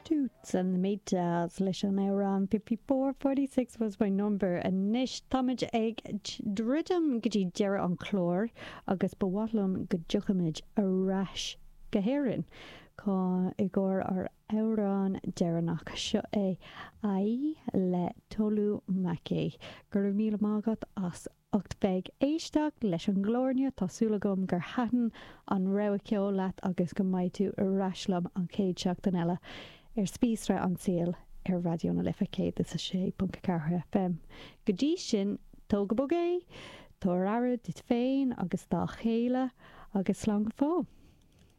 Toots and the Maytals leis an amhrán 54 46 was my number. Anois táimid ag druidim go dtí deireadh an chláir agus ba mhaith liom go dtiocfaimid ar ais go hÉirinn i gcomhair ár amhrán deireanach. Seo é Aye le Tolu Makay. Go raibh míle maith agat as ucht bheith ag éisteacht leis an gclár inniu. Tá súil agam gur thaitin an rogha ceoil leat agus go mbeidh tú ar ais liom an chéad seachtain eile ar Spíosra an tSaoil ar Raidió na Life 106.4 FM. Go dtí sin, tóg go bog é, tabhair aire duit féin agus dá chéile agus slán go fóill.